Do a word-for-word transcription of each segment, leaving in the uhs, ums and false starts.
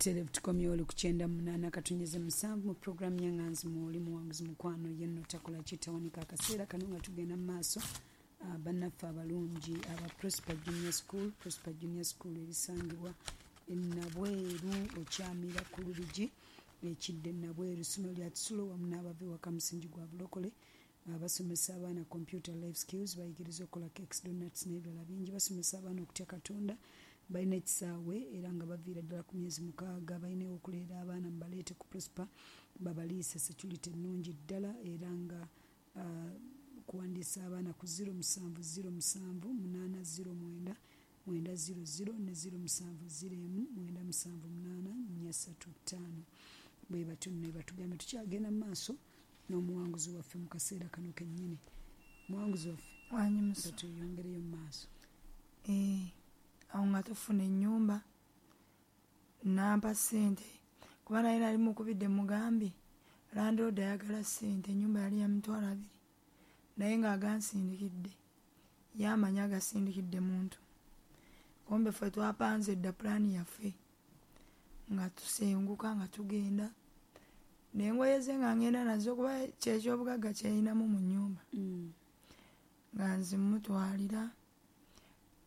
Tukomye oli ku kyenda munaana katunyeze musanvu mu puroguramu y'Enganzi Mwoli Muwanguzi Mukwano yenno takola kitawanika. Akaseera kano nga tugenda mu maaso, ah, bannaffe abalungi aba Prosper Junior School. Prosper Junior School erisangibwa e Nabweru, okyamira ku Lubigi ekidde Nabweru, ssomero lya kisulo wamu n'abava ewaka musingi gwa bulokole. Basomesa abaana computer, life skills, bayigiriza okukola cakes, donuts n'ebirala bingi. Basomesa abaana okutya Katonda. Balina ekisaawe era nga baviira ddala ku myezi mukaaga. Balina okuleera abaana, mubaleete ku Prosper babaliise, security ennungi ddala. Era nga uh, kuwandiisa abaana ku zero musanvu zero musanvu munaana zero mwenda mwenda zero zero ne zero musanvu zero emu mwenda musanvu munaana nnya ssatu ttaano. Bwe batyo nno batugambye. Tukyagenda mu maaso n'omuwanguzi waffe mu kaseera kano kennyini. Muwanguzi waffe, Wanyimusa. tuyongereyo mu maaso. Eh, awo nga tufuna ennyumba, nampa ssente kuba naye nali mukubidde mugambye landlord ayagala ssente. Ennyumba yali ya mitwalo abiri naye ng'agansindikidde, ye amanyi agasindikidde muntu. Kumbe ffe twapanze dda pulaani yaffe nga tusenguka, nga tugenda n'engoye ze nga ngenda nazo kuba kyekyobugagga kyeyinamu mu nnyumba. Mm. Nga nzimutwalira,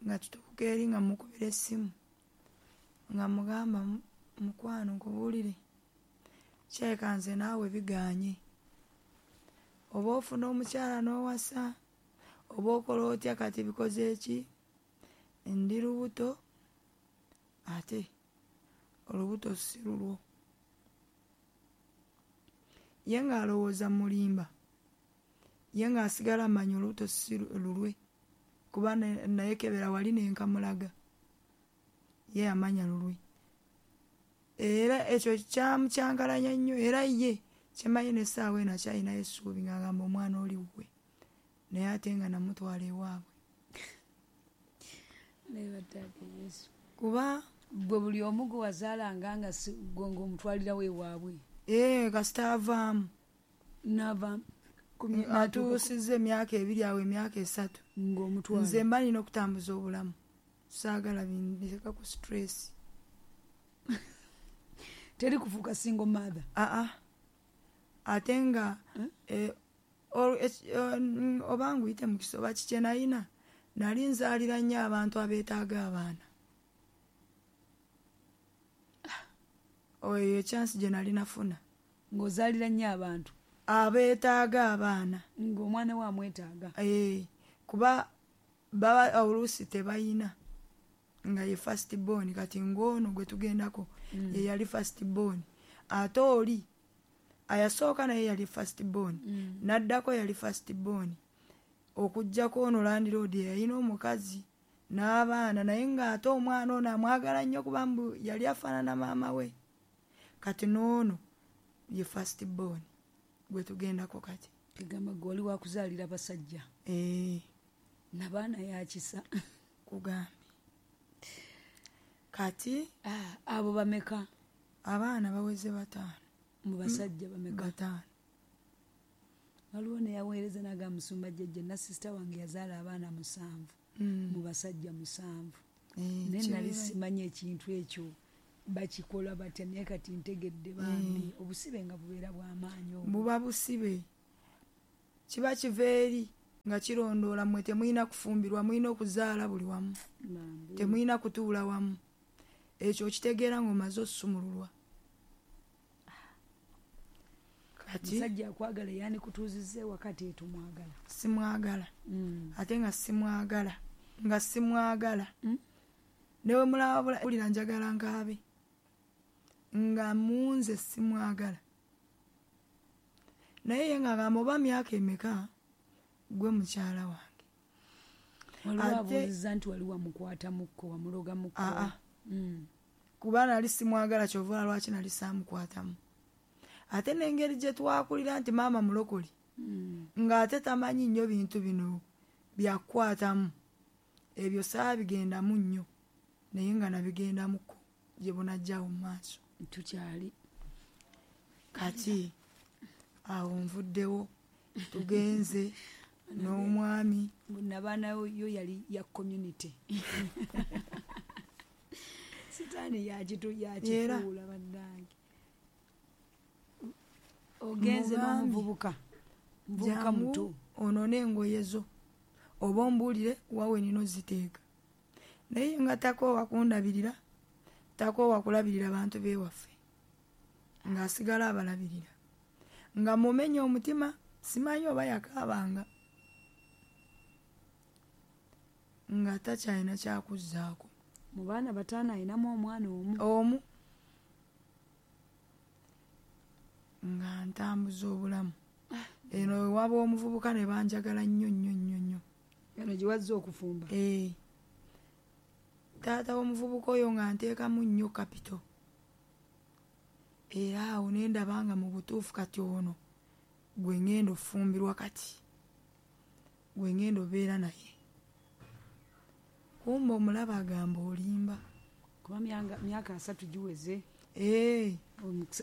nga tutuuka eri nga mukubira essimu nga mugamba, "Mukwano, nkubuulire, kyeka nze naawe biganye. Oba ofuna omukyala n'owasa oba okola otya, kati bikoze eki? Ndi lubuto ate olubuto si lulwo." Ye ng'alowooza mulimba, ye ng'asigala amanya olubuto si lulwe kuba naye kebera wali nenkamulaga, ye amanya lulwe. Era ekyo kyamukyankalanya nnyo. Era ye kyemanyi n'essaawa eno akyalinayo essuubi ng'agamba omwana oli wuwe, naye ate nga namutwala ewaabwe. Kuba gwe buli omu gwe wazaalanga nga gwe ng'omutwalirawo ewaabwe? Ee, kasita avaamu. Nava atuusizza emyaka ebiri awo, emyaka esatu. Ng'omutwala. Nze mba nina okutambuza obulamu, saagala bindeka ku stress. Teri kufuuka single mother? Aa, ate nga eh, oba nguyite mukisa oba kikye, nayina nali nzaalira nnyo abantu abeetaaga abaana. Oyo ekyansi gye nali nafuna. Ng'ozaalira nnyo abantu abeetaaga abaana. Ng'omwana we amwetaaga. Ee, kuba baba oluusi tebayina nga ye first born. Kati ng'ono gwe tugendako mm. ye yali first born, ate oli ayasooka naye yali first born, mm. n'addako yali first born, okuggyako ono landlord yalina omukazi n'abaana, naye ng'ate omwana ono amwagala nnyo kuba mbu yali afaanana maama we. Kati n'ono ye first born gwe tugendako kati. Kigamba gwe wali wakuzaalira basajja. Ee. Nabaana yakisa. Kugambye kati. Ah, abo bameka? Abaana baweze bataano. Mu basajja bameka? Bataano. Waliwo neyaweereza naga, "Musumba jjajja, nasisita wange yazaala abaana musanvu mm. mu basajja musanvu." Eh, naye nali kibeera- simanyi ekintu ekyo bakikola batya, naye kati ntegedde. Bambi, obusibe nga bubeera bw'amaanyi obwo. Buba busibe, kiba kiva eri nga kirondoola. Mmwe temulina kufumbirwa, mulina okuzaala buli wamu. Bambi. Temulina kutuula wamu. Ekyo okitegeera ng'omaze osumululwa kati. Musajja akwagala yandikutuuzizza ewaka, tetumwagala. Simwagala. Mm. Ate nga simwagala, nga simwagala. Mm. Newe mulaba bulira njagala nkaabe nga munze simwagala, naye ye ng'agamba oba myaka emeka gwe mukyala wange. Waliwo Ate- abuuziza nti wali wamukwata mukko, wamuloga mukko? Aa. Mm. Kuba nali simwagala, kyova lwaki nali saamukwatamu. Ate n'engeri gye twakulira nti maama mulokole, Mm. ng'ate tamanyi nnyo bintu bino byakukwatamu, ebyo saabigendamu nnyo, naye nga nabigendamuko gye bunajjawo mu maaso. Tukyali. Kati awo nvuddewo, tugenze n'omwami. Nabaana yo yali ya community. Sitaani yakitu yakifuula bannange. Ogenze n'omuvubuka. Muvubuka muto. Ono n'engoye zo. Oba ombuulire wawe nino ziteeka. Naye nga takoowa kundabirira, takoowa kulabirira bantu b'ewaffe. Ng'asigala abalabirira. Nga mumenya omutima, simanyi oba yakaabanga. Nga takyalina kyakuzzaako. Mu baana bataano alinamu omwana omu. Omu. Nga ntambuza obulamu. Eno ewaba omuvubuka ne banjagala nnyo nnyo nnyo nnyo. Eno gye wazze okufumba. Eh. Taata w'omuvubuka oyo nga nteekamu nnyo kapito. Era awo ne ndaba nga mu butuufu kati ono gwe ŋŋenda ofumbirwa kati. Gwe ŋŋenda obeera naye. Kumbe omulaba agamba olimba. Kuba myaka asatu giweze. Eh.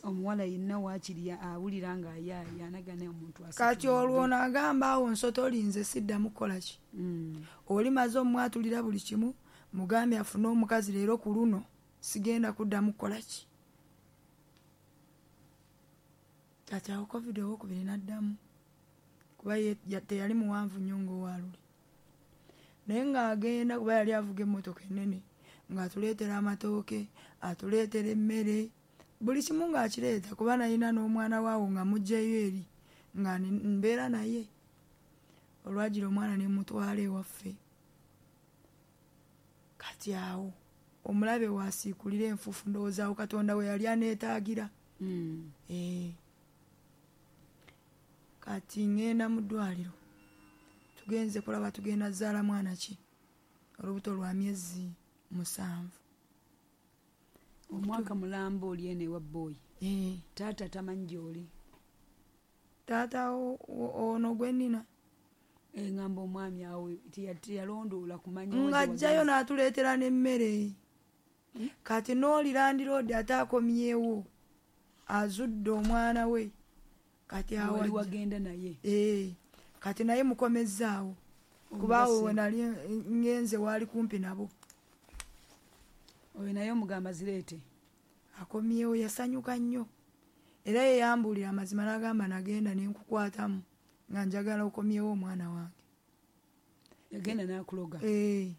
Omuwala yenna waakiri awulira nga ayanagana omuntu asatu. Kati olwo ono agamba awo nsotolinze siddamu kukola ki? Mm. Oli maze omwatulira buli kimu, mugambye afune omukazi leero ku luno sigenda kuddamu kukola ki? Kati awo COVID owookubiri n'addamu kuba ye teyali muwanvu nnyo ng'owaaluli. Naye ng'agenda kuba yali avuga emmotoka ennene ng'atuleetera amatooke, atuleetera emmere, buli kimu ng'akireeta kuba nalina n'omwana waawo nga muggyeyo eri nga mbeera naye. Olwagira omwana ne mutwala ewaffe. Kati awo omulabe w'asiikulira enfuufu ndowooza awo Katonda we yali aneetaagira. Mm. Eh. Kati ŋŋenda mu ddwaliro. Tugenze kulaba tugenda zaala mwana ki? Olubuto lwa myezi musanvu. Omwaka mulamba oli eno ewa bboyi. Eh. Taata tamanyi gy'oli. Taata ono gwe nnina. Eŋŋamba omwami awo teyalondoola kumanya. Ng'ajjayo n'atuleetera n'emmere. Kati n'oli landiroodi ate akomyewo azudde omwana we. Kati awo wali wagenda naye. Eh. Kati naye mukomezzaawo. Kuba awo we nali ŋŋenze waali kumpi nabo. Oyo naye omugamba zireete. Akomyewo yasanyuka nnyo. Era ye yambuulira amazima n'agamba nagenda ne nkukwatamu nga njagala okomyewo omwana wange. Yagenda n'akuloga. Eh.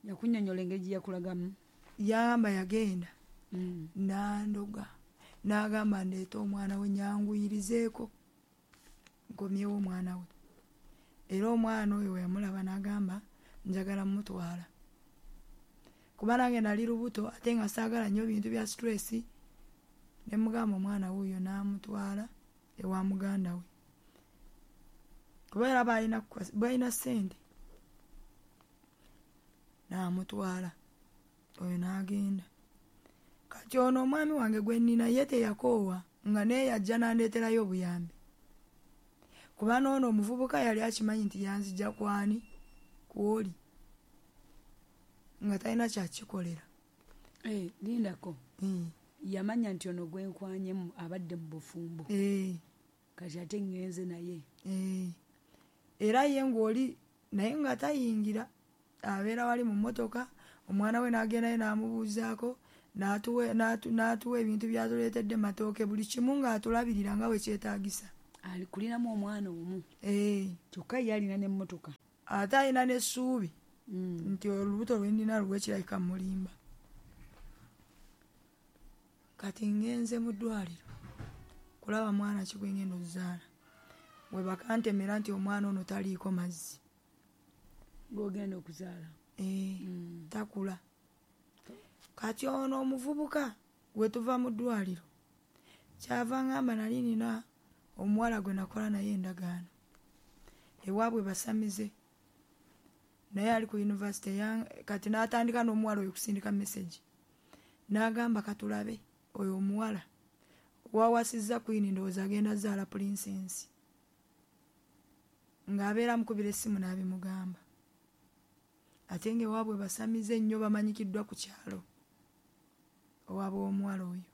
Yakunnyonnyola engeri gye yakulagamu. Yagamba yagenda. Mm. N'andoga. N'agamba ndeete omwana we nyanguyirizeeko nkomyewo omwana we. Era omwana oyo we yamulaba n'agamba njagala mmutwala. Kuba nange nali lubuto ate nga saagala nnyo bintu bya stress, ne mugamba omwana wuuyo n'amutwala ewa muganda we. Kuba era balina balina ssente. N'amutwala oyo n'agenda. Kati ono omwami wange gwe nnina ye teyakoowa nga naye yajja n'andeeterayo obuyambi. Kuba n'ono omuvubuka yali akimanyi nti yanzija kwani kwoli. Nga talina kyakikolera. Eh, lindako. Mm. Yamanya nti ono gwe nkwanyemu abadde mu bufumbo. Eh. Kati ate ŋŋenze naye. Eh. Era ye ng'oli naye nga tayingira abeera wali mu mmotoka omwana we n'agendayo n'amubuuzaako n'atuwa n'atuwa ebintu by'atuleetedde matooke buli kimu ng'atulabirira nga bwe kyetaagisa. Alikuliramu omwana omu. Eh. Kyokka ye alina n'emmotoka. Ate alina n'essuubi. Mm. Nti olubuto lwe nnina lwe kirabika mulimba. Kati ŋŋenze mu ddwaliro kulaba mwana ki gwe ŋŋenda okuzaala. We bakantemera nti omwana ono taliiko mazzi. Gw'ogenda okuzaala. Eh, mm. Takula. Kati ono omuvubuka we tuva mu ddwaliro kyava ŋŋamba nali nina omuwala gwe nakola naye endagaano. Ewaabwe basamize. Naye ali ku yunivasite kati n'atandika n'omuwala oyo okusindika message. N'agamba katulabe oyo omuwala wawasizza Queen ndowooza agenda zaala Princess. Ng'abeera amukubira essimu n'abimugamba. Ate ng'ewaabwe basamize nnyo bamanyikiddwa ku kyalo. Owaabwe omuwala oyo.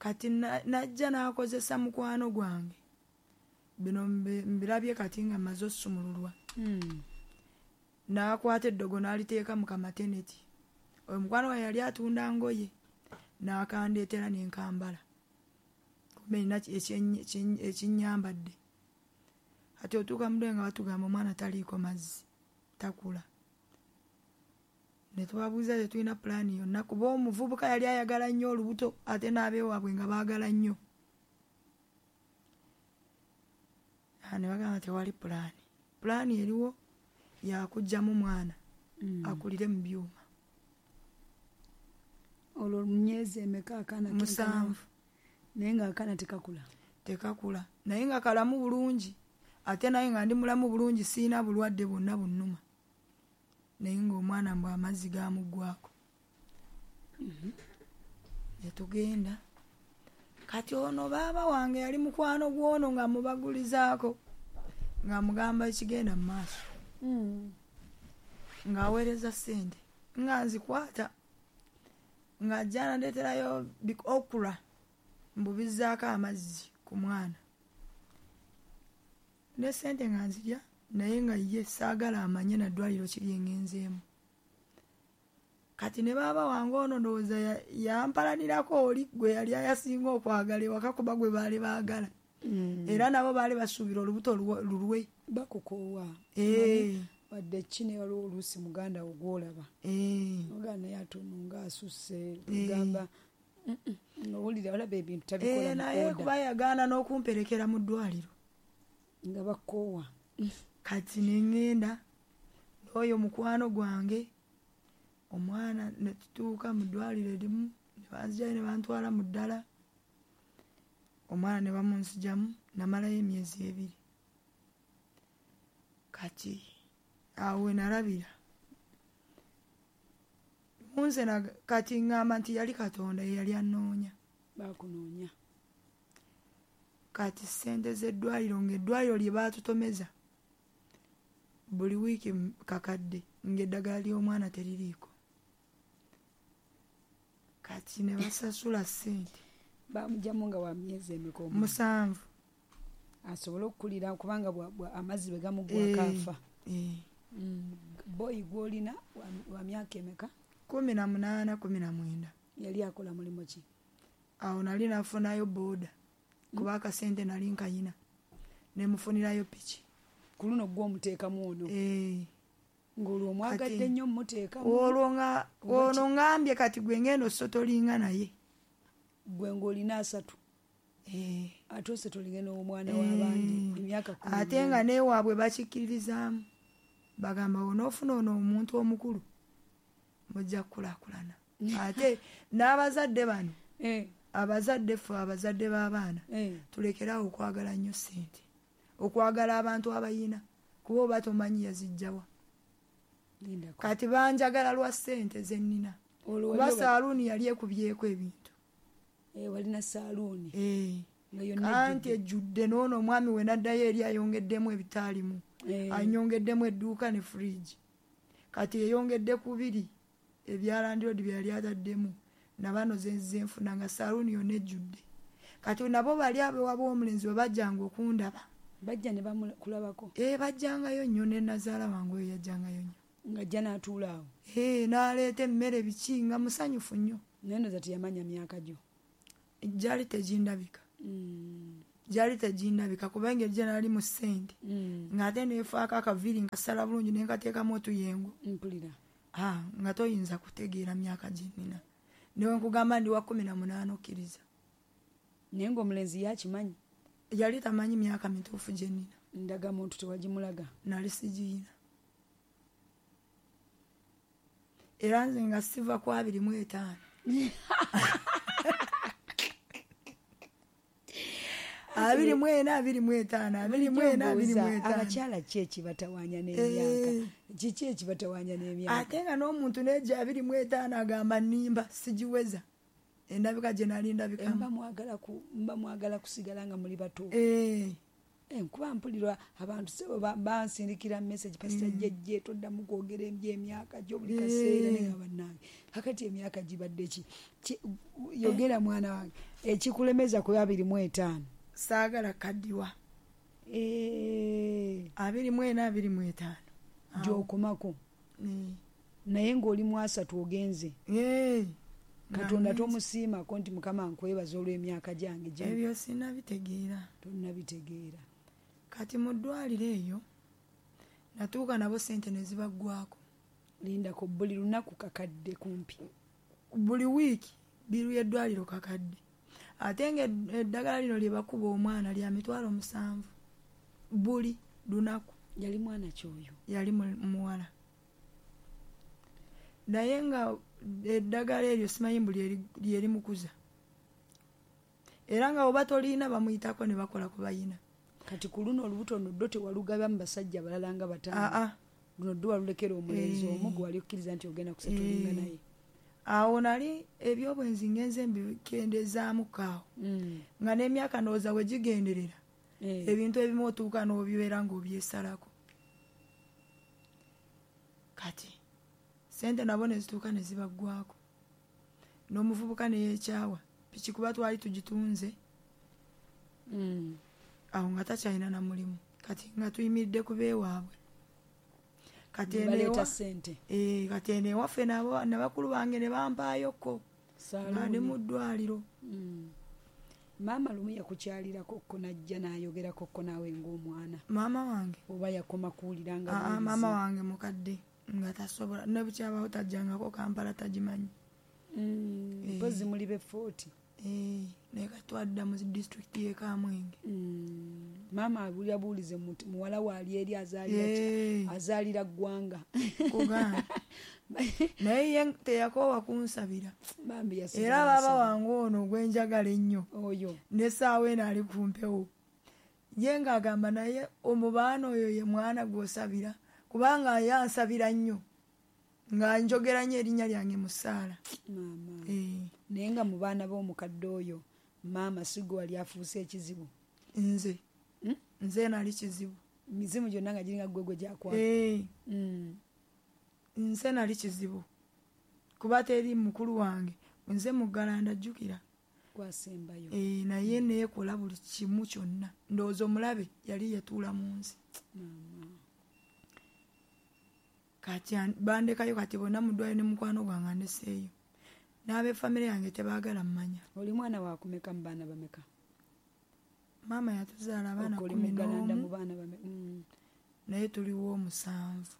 Kati najja n'akozesa mukwano gwange. Bino mbirabye kati nga mmaze ossumululwa. Mm. N'akwata eddogo n'aliteeka mu kamateneti. Oyo mukwano wange yali atunda ngoye n'akandeetera nenkambala, kumbe nina ekinnyambadde. Ati otuuka mu ddwaliro nga batugamba omwana taliiko mazzi, takula. Ne tubabuuza tetulina pulaani yonna, kuba omuvubuka yali ayagala nnyo olubuto ate n'abeewaabwe nga baagala nnyo. Ne bagamba tewali pulaani. Pulaani eriwo yakuggyamu mwana akulire mu byuma. Olwo myezi emeka akaana Musanvu. Naye nga akaana tekakula? Tekakula, naye nga kalamu bulungi, ate naye nga ndi mulamu bulungi, siina bulwadde bwonna bunnuma. Naye ng'omwana mbw amazzi gamuggwako. Ne tugenda. Kati ono baaba wange yali mukwano gw'ono nga mubagulizaako, nga mugamba ekigenda mu maaso. Ng'aweereza ssente, nga nzikwata, ng'ajja n'andeeterayo okra, mbubizzaako amazzi ku mwana. Ne ssente nga nzirya, naye nga ye saagala amanye na ddwaliro ki lye ŋŋenzeemu. Kati ne baaba wange ono ndowooza yampalanirako oli gwe yali ayasinga okwagala ewaka, kuba gwe baali baagala. Era nabo baali basuubira olubuto lulwe. Bakukoowa. Wadde ki ne waliwo oluusi muganda wo gw'olaba. Muganda naye ate ono ng'asusse, ogamba owulira olaba ebintu tabikola mu Naye order. Kuba yagaana n'okumperekera mu ddwaliro. Nga bakoowa. Kati ne ŋŋenda n'oyo mukwano gwange, omwana ne tutuuka mu ddwaliro erimu, ne banzigyayo ne bantwala mu ddala. Omwana ne bamunzigyamu, namalayo emyezi ebiri. Kati awo we nalabira. Munze kati ŋŋamba nti yali Katonda ye yali annoonya. Baakunoonya. Kati ssente z'eddwaliro ng'eddwaliro lye baatutomeza buli wiiki kakadde, ng'eddagala ly'omwana teririiko. Kati ne basasula ssente. Baamugyamu nga wa myezi emeka omwana? Musanvu. Asobole okukulira kubanga amazzi bwe gamuggwako afa. Boyi gw'olina wa myaka emeka? Kumi na munaana, kumi na mwenda. Yali akola mulimu ki? Awo nali nafunayo booda, kuba akasente nali nkayina, ne mufunirayo piki. Ku luno gwe omuteekamu ono? Ng'olwo omwagadde nnyo mmuteekamu? Olwo nga ono ŋŋambye kati gwe ŋŋenda osotolinga naye. Gwe ng'olina asatu? Ate osotolinge n'omwana w'abandi emyaka kkumi. Ate nga n'ewaabwe bakikkiririzaamu. Bagamba onoofuna ono omuntu omukulu mujja kukulaakulana. Ate n'abazadde bano, abazadde ffe abazadde b'abaana, tulekeraawo okwagala nnyo ssente, okwagala abantu abayina, kuba oba tomanyi yazijjawa. Kati banjagala lwa ssente ze nnina. Kuba saaluuni yali ekubyeko ebintu. Walina saaluuni? Anti ejjudde n'ono omwami we n'addayo eri ayongeddemu ebitaalimu. Anyongeddemu edduuka ne fridge. Kati eyongedde kubiri ebya landlord bye yali ataddemu, na bano ze nzize nfuna nga saaluuni yonna ejjudde. Kati nabo bali abeewaba omulenzi bwe bajjanga okundaba. Bajja ne bamukulabako? Eh, bajjangayo nnyo ne nnazaala wange oyo yajjangayo nnyo. Ng'ajja n'atuula awo? Eh, n'aleeta emmere biki nga musanyufu nnyo. Naye ndowooza teyamanya myaka gyo? Gyali tegindabika. Gyali tegindabika kuba engeri gye nali mu ssente. Ng'ate neefaako akaviiri nkasala bulungi ne nkateekamu otuyengo. Mpulira. Ah, nga toyinza kutegeera myaka gye nnina. Ne bwe nkugamba ndi wa kkumi na munaana okkiriza. Naye ng'omulenzi ye akimanyi? Yali tamanyi myaka mituufu gye nnina. Ndagamuntu tewagimulaga? Nali sigiyina. Era nze nga siva ku abiri mu etaano. Abiri mu ena, abiri mu etaano, abiri mu ena, abiri mu etaano. Abakyala ki ekibatawaanya n'emyaka? Kiki ekibatawaanya n'emyaka? Ate nga n'omuntu n'ejja abiri mu etaano agamba nnimba sigiweza. Endabika gye nali ndabikamu. Mba mwagala ku, mba mwagala kusigala nga muli bato. Eh. Nkuba mpulirwa abantu sebo bansindikira message Pastor Jejje toddamu kwogera eby'emyaka gyo buli kaseera ne nga bannange. Kakati emyaka gibadde ki? Yogera mwana wange. Ekikulemeza ku abiri mu etaano. Saagala kaddiwa. Eh. Abiri mu ena, abiri mu etaano. Gy'okomako. Eh. Naye ng'oli mu asatu ogenze. Ee. Katonda tomusiimako nti Mukama nkwebaza olw'emyaka gyange gye. Ebyo sinnabitegeera. Tonnabitegeera. Kati mu ddwaliro eyo natuuka nabo ssente ne zibaggwako. Lindako buli lunaku kakadde kumpi. Buli wiiki biru y'eddwaliro kakadde. Ate ng'eddagala lino lye bakuba omwana lya mitwalo musanvu buli lunaku. Yali mwana ki oyo? Yali muwala. Naye nga eddagala eryo simanyi mbu lye limukuza. Era nga oba tolina bamuyitako ne bakola ku bayina. Kati ku luno olubuto luno ddo tewalugaba mu basajja balala nga bataano. Aa. Luno ddo walulekera omulenzi omu gwe wali okkiriza nti ogenda kusatulinga naye. Awo nali ebyobwenzi ngenze mbikendezaamuko awo. Nga n'emyaka ndowooza we gigenderera. Ebintu ebimu otuuka n'obibeera ng'obyesalako. Kati ssente nabo ne zituuka ne zibaggwako. N'omuvubuka ne yeekyawa. Piki kuba twali tugitunze. Awo nga takyalina na mulimu. Kati nga tuyimiridde ku beewaabwe. Kati eno Baleeta ssente. Eh, kati eno ewaffe nabo ne bakulu bange ne bampaayoko. Nga ndi mu ddwaliro. Maama lumu yakukyalirako ko n'ajja n'ayogerako ko naawe ng'omwana. Maama wange. Oba yakoma kuwulira nga Aa, maama wange mukadde nga tasobola ne bukyabawo tajjangako Kampala tagimanyi. Mpozi muli be forty. Eh, naye kati twadda mu disitulikiti y'e Kamwenge. Maama abulira buulize muwala we ali eri azaalira ki? Azaalira ggwanga. Kugamba. Naye ye teyakoowa kunsabira. Bambi yasigala Era baaba asaba. wange ono gwe njagala ennyo. Oyo. N'essaawa eno ali ku mpewo. Ye ng'agamba naye omubaana oyo ye mwana gw'osabira kubanga ye ansabira nnyo. Nga njogera nnyo erinnya lyange mu ssaala. Maama. Eh. Naye nga mu baana b'omukadde oyo maama si gwe wali afuuse ekizibu. Nze. Nze nali kizibu. Mizimu gyonna nga giringa ggwe gwe gyakwata. Eh. Nze nali kizibu. Kuba teri mukulu wange. Nze muggalanda jjukira. Gwasembayo. Eh, naye neekola buli kimu kyonna. Ndowooza omulabe yali yatuula mu nsi. Maama. Kati bandekayo kati bonna mu ddwaliro ne mukwano gwange andeseeyo. N'ab'effamire yange tebaagala mmanya. Oli mwana wa kumeka mu baana bameka? Maama yatuzaala abaana Oli kkumi muggalanda n'omu. mu baana bameka? Naye tuliwo omusanvu.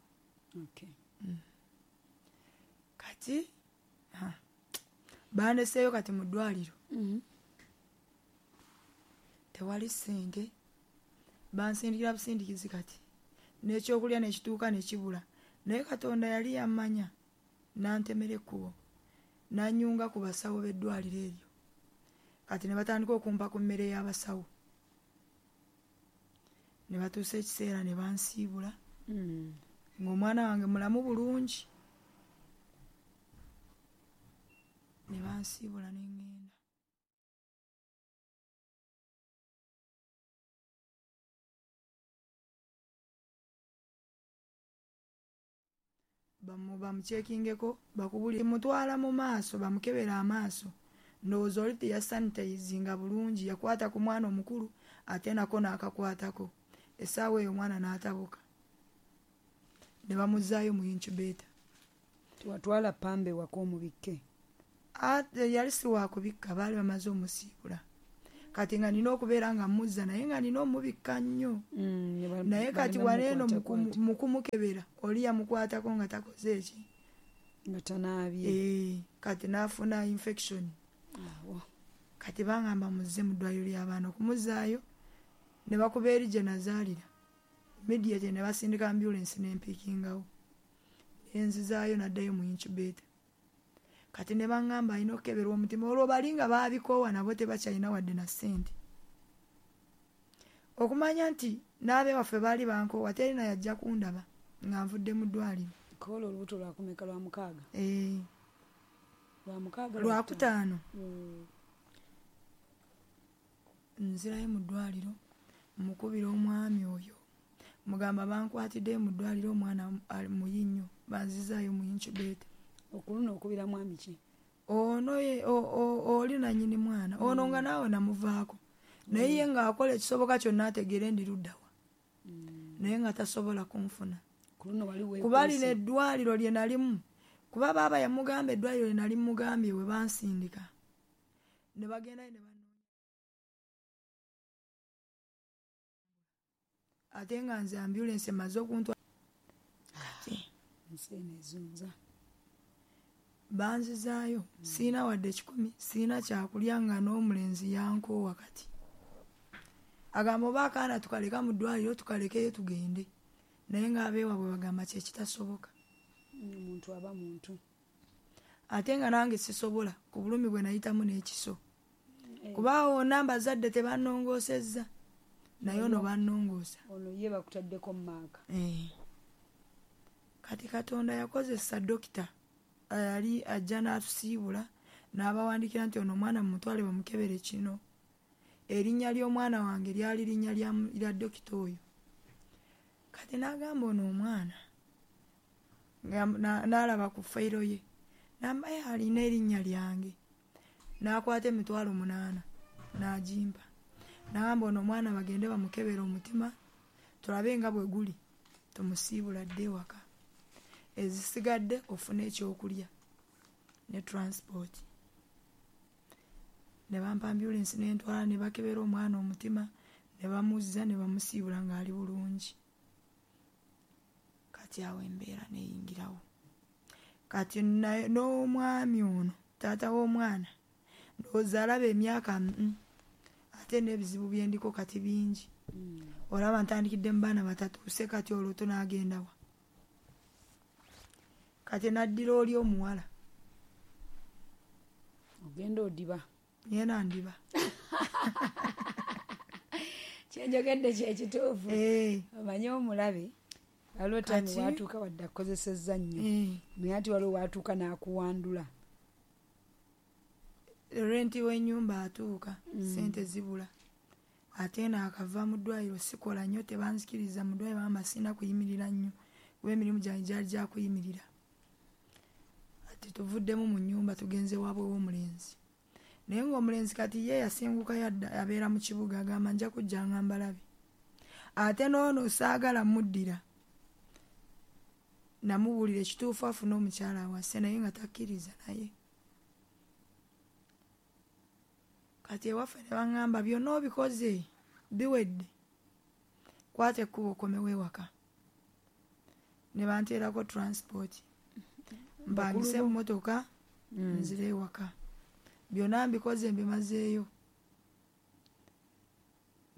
Okay. Kati bandeseeyo kati mu ddwaliro. Tewali ssente. Bansindikira busindikizi kati. N'ekyokulya n'ekituuka ne kibula. Naye Katonda yali yammanya n'antemera ekkubo. N'annyunga ku basawo b'eddwaliro eryo. Kati ne batandika okumpa ku mmere y'abasawo. Ne batuusa ekiseera ne bansiibula. Ng'omwana wange mulamu bulungi. Ne bansiibula ne ŋŋenda. Bamukyekingeko bakubulire mutwala mu maaso bamukebera amaaso. Ndowooza oli teyasanitayizinga bulungi yakwata ku mwana omukulu ate nako n'akakwatako. Essaawa eyo omwana n'atabuka. Ne bamuzzaayo mu incubator. Tewatwala ppamba ewaka omubikke? Ate yali si waakubikka baali bamaze omusiibula. Kati nga nina okubeera nga mmuzza naye nga nina omubikka nnyo. Naye kati wano eno mu kumukebera oli yamukwatako nga takoze eki? Nga tanaabye. Eh, kati n'afuna infection. Awo. Kati bangamba muzze mu ddwaliro ly'abaana okumuzzaayo ne bakuba eri gye nazaalira. Immediately ne basindika ambulance n'empiikingawo. Ne nzizaayo n'addayo mu incubator. Kati ne baŋŋamba alina okukeberwa omutima olwo bali nga baabikoowa nabo tebakyalina wadde na ssente. Okumanya nti n'abewaffe baali bankoowa teri na yajja kundaba nga nvudde mu ddwaliro. Kola olubuto lwakumeka lwa mukaaga? Eh. Lwa mukaaga lwakutaano. Nzirayo mu ddwaliro mukubira omwami oyo. Mugamba bankwatidde mu ddwaliro omwana muyi nnyo banzizaayo mu incubator. Okuluno okubira mwami ki? Ono ye oli nannyini mwana. Ono nga naawe namuvaako. Naye ye ng'akola ekisoboka kyonna ategeere ndi ludda wa. Naye nga tasobola kunfuna. Ku luno wali weekwese. Kuba lino eddwaliro lye nalimu Kuba baaba yamugamba eddwaliro nali mugambye we bansindika ne bagendayo ne banoonya, ate nga nze ambulensi emaze okuntwala. Kati Ensi eno ezunza. Banzizaayo, siina wadde kikumi, siina kyakulya, nga n'omulenzi yankoowa. Kati agamba oba akaana tukaleka mu ddwaliro, tukalekeyo tugende, naye ng'abeewaabwe bagamba kyekitasoboka. Omuntu aba muntu. Ate nga nange sisobola ku bulumi bwe nayitamu n'ekiso, kuba wonna mbazadde tebannongoosezza, naye ono bannongoosa. Ono ye bakutaddeko mu maaka. Eh. Kati Katonda yakozesa dokita yali ajja n'atusiibula n'abawandiikira nti ono omwana mumutwale bamukebere kino. Erinnya ly'omwana wange lyali linnya lya lya dokita oyo. Kati n'agamba ono omwana nga- na- n'alaba ku fayiro ye, namba ye alina erinnya lyange, n'akwata emitwalo munaana n'agimpa, n'agamba ono omwana bagende bamukebere omutima tulabe nga bwe guli, tumusiibula dde ewaka, ezisigadde ofune ekyokulya ne transport. Ne bampa ambulensi nentwala, ne bakebera omwana omutima, ne bamuzza ne bamusiibula ng'ali bulungi. Kati awo embeera neyingirawo. Kati naye- n'omwami ono taata w'omwana ndowooza alaba emyaka mm, ate n'ebizibu byendiko kati bingi, olaba ntandikidde mu baana batatuuse, kati olwo tunaagendawa? Kati naddira oli omuwala. Ogenda odiba. Ngenda ndiba. Kyenjogedde kyekituufu. Eh, Omanye omulabe waliwo time Kati- watuuka wadde akukozesezza nnyo, eh. naye ati waliwo watuuka n'akuwandula. Renti w'ennyumba atuuka, sente zibula, ate naakava mu ddwaliro, sikola nnyo, tebanzikiriza mu ddwaliro, bagamba sirina kuyimirira nnyo kuba emirimu gyange gyali gyakuyimirira. Ati tuvuddemu mu nnyumba, tugenze waabwe w'omulenzi, naye ng'omulenzi kati ye yasengukayo adda abeera mu kibuga, agamba nja kujjanga mbalabe. Ate n'ono saagala muddira, namubuulira ekituufu afune omukyala awase, naye nga takkiriza. Naye kati ewaffe ne baŋŋamba byonna obikoze biwedde, kwata ekkubo okomewo ewaka. Ne banteerako transport, mpangise emmotoka nzire ewaka, byonna mbikoze mbimazeeyo.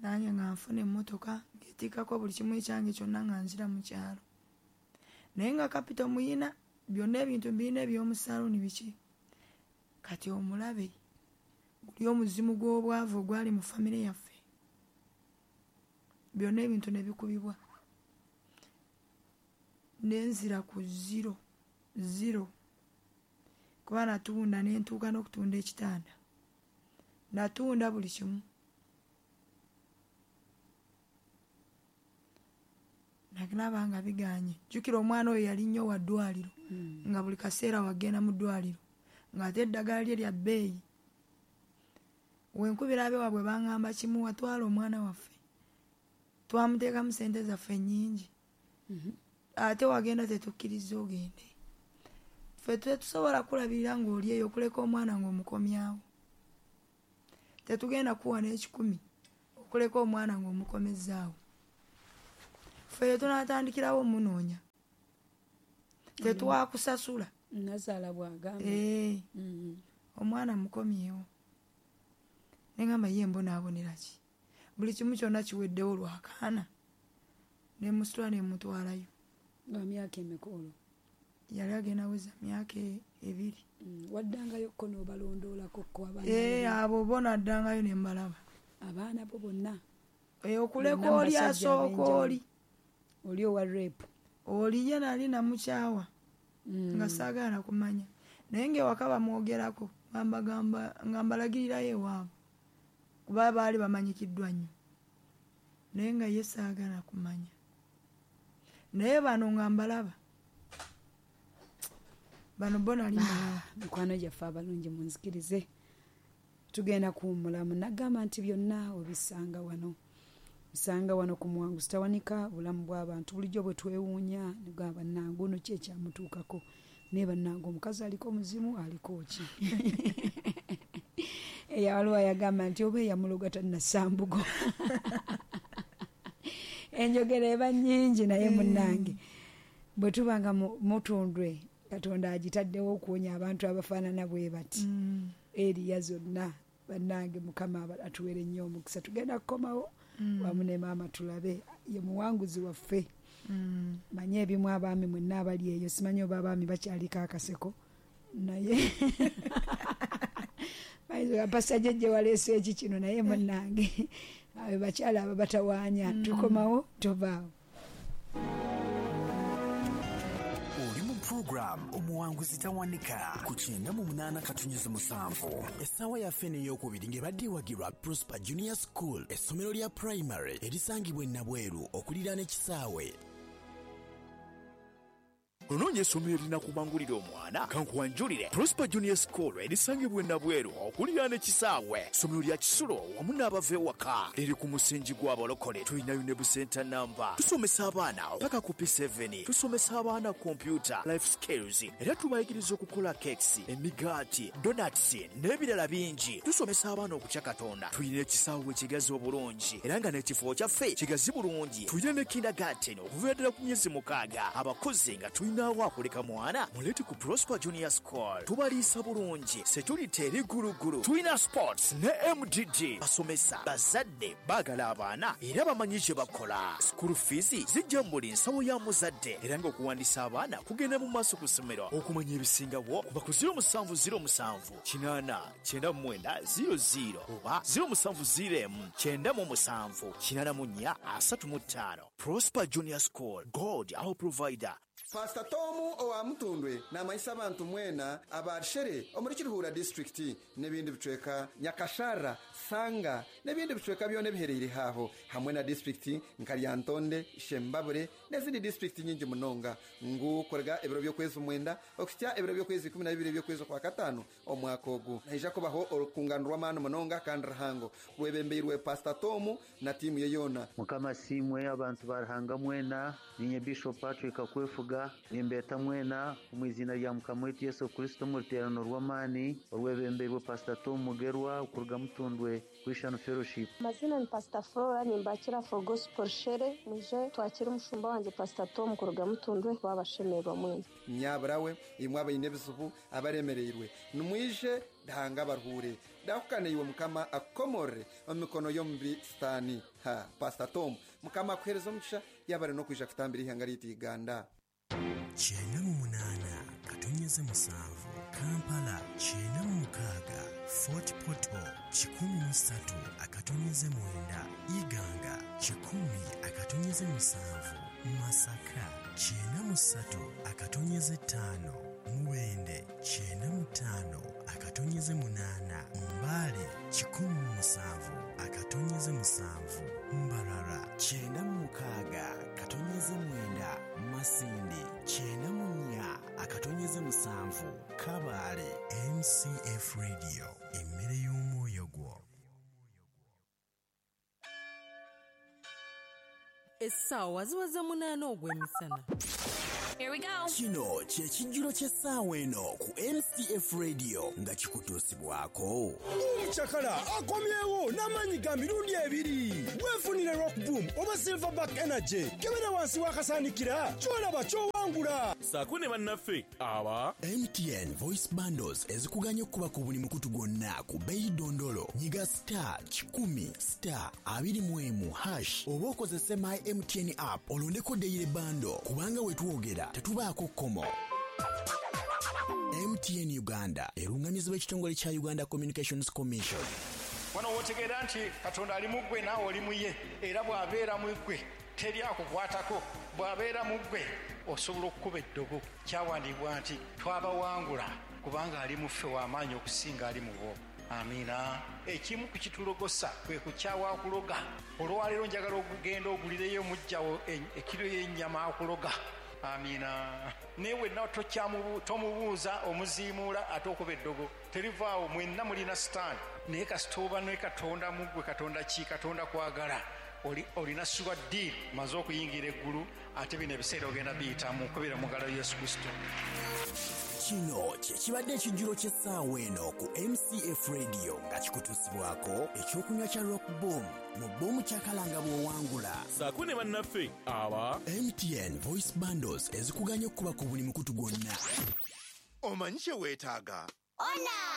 Nange nga nfuna emmotoka ng'etikkako buli kimu ekyange kyonna nga nzira mu kyalo, naye nga kapito muyina, byonna ebintu mbirina eby'omu saaluuni biki. Kati omulabe guli omuzimu gw'obwavu ogwali mu famire yaffe, byonna ebintu ne bikubibwa, nenzira ku zero zero, kuba natunda nentuuka n'okutunda ekitanda, natunda buli kimu. Nalaba nga biganye. Jjukira omwana oyo yali nnyo wa ddwaliro, nga buli kaseera wagenda mu ddwaliro, ng'ate eddagala lye lya bbeeyi. Wenkubira abewaabwe baŋŋamba kimu, watwala omwana waffe, twamuteekamu sente zaffe nnyingi, ate wagenda tetukkiriza ogende, ffe tetusobola kulabirira ng'oli eyo, okuleka omwana ng'omukomyawo, tetugenda kuwa n'ekikumi okuleka omwana ng'omukomezzaawo, ffe tunaatandikirawo omunoonya, tetwakusasula. Nazaala bw'agamba. Eh, Mm. omwana mukomyewo. Neŋŋamba ye mbonaabonera ki, buli kimu kyonna kiweddewo lwakaana, nemusitula nemutwalayo. Nga myaka emeka olwo? Yali agenda weza myaka e- ebiri. Mm. Waddangayo ko n'obalondoolako ko abaana? Eh, abo bo naddangayo ne mbalaba. Abaana bo bonna? Eh, okuleka Bonna oli basajja asooka ab'enjawulo. Oli Oli owa rape? Oli ye nali namukyawa, Mm. nga saagala kumanya, naye ng'ewaka bamwogerako, nga mbagamba- nga mbalagirirayo ewaabwe kuba baali bamanyikiddwa nnyo, naye nga ye saagala kumanya. Naye bano nga mbalaba, bano bo nali mbalaba. Mikwano gyaffe abalungi, munzikirize tugenda kuwummulamu. Nagamba nti byonna obisanga wano, bisanga wano ku Muwanguzi Tawanika. Bulamu bw'abantu bulijjo bwe twewuunya, nigamba nange ono ki ekyamutuukako. Naye bannange omukazi aliko omuzimu aliko ki? Eyawaliwo yagamba nti oba eyamuloga tannasambugo. Enjogera eba nnyingi naye munnange bwe tuba nga mutundwe Katonda agitaddewo okuwonya abantu abafaanana bwe bati. Mm. Eriya zonna bannange Mukama atuwere nnyo omukisa. Tugenda kukomawo mm. wamu ne maama tulabe ye muwanguzi waffe. Mm. Manye ebimu abaami mwenna abali eyo, simanyi oba abaami bakyaliko akaseko naye Pastor Jjejje waleese eki kino naye munnange abo bakyala ababatawaanya. Mm. Tukomawo tovaawo. Program omuwanguzi tawanika ku kyenda mu munaana katonnyeze musanvu. Essaawa yaffe ey'okubiri ng'ebadde ewagirwa Prosper Junior School, essomero lya primary erisangibwa e Nabweru okuliraana ekisaawe. Onoonya essomero erinakubangulira omwana, kankuwanjulire Prosper Junior School erisangibwa e Nabweru okuliraana ekisaawe. Ssomero lya kisulo wamu n'abava ewaka, liri ku musingi gw'abalokole. Tulinayo ne busenta namba. Tusomesa abaana paka ku P seven, tusomesa abaana kompyuta, life skills, era tubayigiriza okukola cakes, emigaati, donuts n'ebirala bingi. Tusomesa abaana okutya Katonda. Tulina ekisaawe ekigazi obulungi era nga n'ekifo kyaffe kigazi bulungi. Tulina ne kindergarten okuviira ddala ku myezi mukaaga. Abakozi nga tulina akuleka mwana mulete ku Prosper Junior School. Tubaliisa bulungi, security eri gulugulu. Tulina sports ne M D D. Basomesa bazadde baagala abaana era bamanyi kye bakola. School fees zijja mu buli nsawo ya muzadde era ng'okuwandiisa abaana kugenda mu maaso ku ssomero. Okumanya ebisingawo kuba ku zero musanvu zero musanvu kinaana kyenda mu mwenda zero zero oba zero musanvu zero emu kyenda mu musanvu kinaana mu nnya asatu mu ttaano. Prosper Junior School, God our provider. Pastor Tomu owa Mutundwe n'amanyisa abantu mwena abarshere omuri Kiruhura district n'ebindi bicweka Nyakashara, Sanga n'ebindi bicweka byone biherereye haho hamwe na district nka Lyantonde, Shembabure n'ezindi district nyingi munonga ngu korega ebiro by'okwezi mwenda okutya ebiro by'okwezi ikumi na bibiri by'okwezi kwa katano omwaka ogu naija kubaho orukungano rw'amaani munonga kandi ruhango rwebembeirwe Pastor Tomu na tiimu ye yona. Mukama simwe abantu barahanga mwena ninye Bishop Patrick Akwefuga nimbeta mwena omwizina lya Mukama waitu Yesu Kristo mu ruteerano rw'amaani orwebembeirwe Pastor Tom Mugerwa okuruga Mutundwe Christian Fellowship. Mazina ni Pastor Flora nimbakira for Gospel Shere muje twakira umushumba wanje Pastor Tom kuruga Mutundwe babashemerwa mwena. Nyaburawe imwe abayine ebizibu abaremereirwe nimwije dahanga baruhure dahukane iwe Mukama akomore omumikono y'omubi Sitaani. Ha Pastor Tom Mukama akuhereza omugisha yabare n'okwija kutambira ihanga ryaitu Uganda. Kyenda mu munaana katonnyeze musanvu Kampala, kyenda mu mukaaga Fort Portal, kikumi mu ssatu akatonyeze mwenda Iganga, kikumi akatonyeze musanvu Masaka, kyenda mu ssatu akatonyeze ttaano Mubende, kyenda mu ttaano akatonyeze munaana Mbale, kikumi mu musanvu akatonyeze musanvu Mbarara, kyenda mu mukaaga katonyeze mwenda Masindi, kyenda mu nnya akatonyeze musanvu Kabale. M C F Radio, emmere y'omwoyo gwo. Essaawa ziweze munaana ogw'emisana. Here we go. Kino kye kijjulo ky'essaawa eno ku M C F Radio nga kikutuusibwako. Omucakala akomyewo n'amaanyi ga mirundi ebiri. Weefunire Rock Boom oba Silverback Energy. Kebera wansi w'akasaanikira ky'olaba ky'owangula. Saako ne bannaffe aba M T N Voice Bundles ezikuganya okuba ku buli mukutu gwonna ku bbeeyi dondolo. Nyiga star kikumi star abiri mu emu hash oba okozese My M T N app olondeko daily bundle kubanga we twogera tetubaako kkomo. M T N Uganda erungamizibwa ekitongole kya Uganda Communications Commission. Wano w'otegeera nti Katonda ali mu ggwe naawe oli mu ye, era bw'abeera mu ggwe teri akukwatako, bw'abeera mu ggwe osobola okukuba eddogo. Kyawandiibwa nti twabawangula kubanga ali mu ffe w'amaanyi okusinga ali mu bo. Amiina. Ekimu ku kitulogosa kwe kukyawa akuloga. Olwaleero njagala okugenda ogulireyo muggyawo ekiro y'ennyama akuloga. Amiina. Naye wenna tomubuuza omuziimuula ate okuba eddogo terivaawo, mwenna mulina sitaani. Naye kasita oba ne Katonda mu ggwe, Katonda ki? Katonda kwagala. Olina sure deal, maze okuyingira eggulu, ate bino ebiseera ogenda biyitamu kubira mu ngalo Yesu Kristo. Kino kye kibadde ekijjulo ky'essaawa eno ku M C F Radio nga kikutuusibwako ekyokunywa kya Rock Boom mu boomu kyakalanga bw'owangula. Saako ne bannaffe aba M T N Voice Bundles ezikuganya okukuba ku buli mukutu gwonna. Omanyi kye weetaaga? Ona!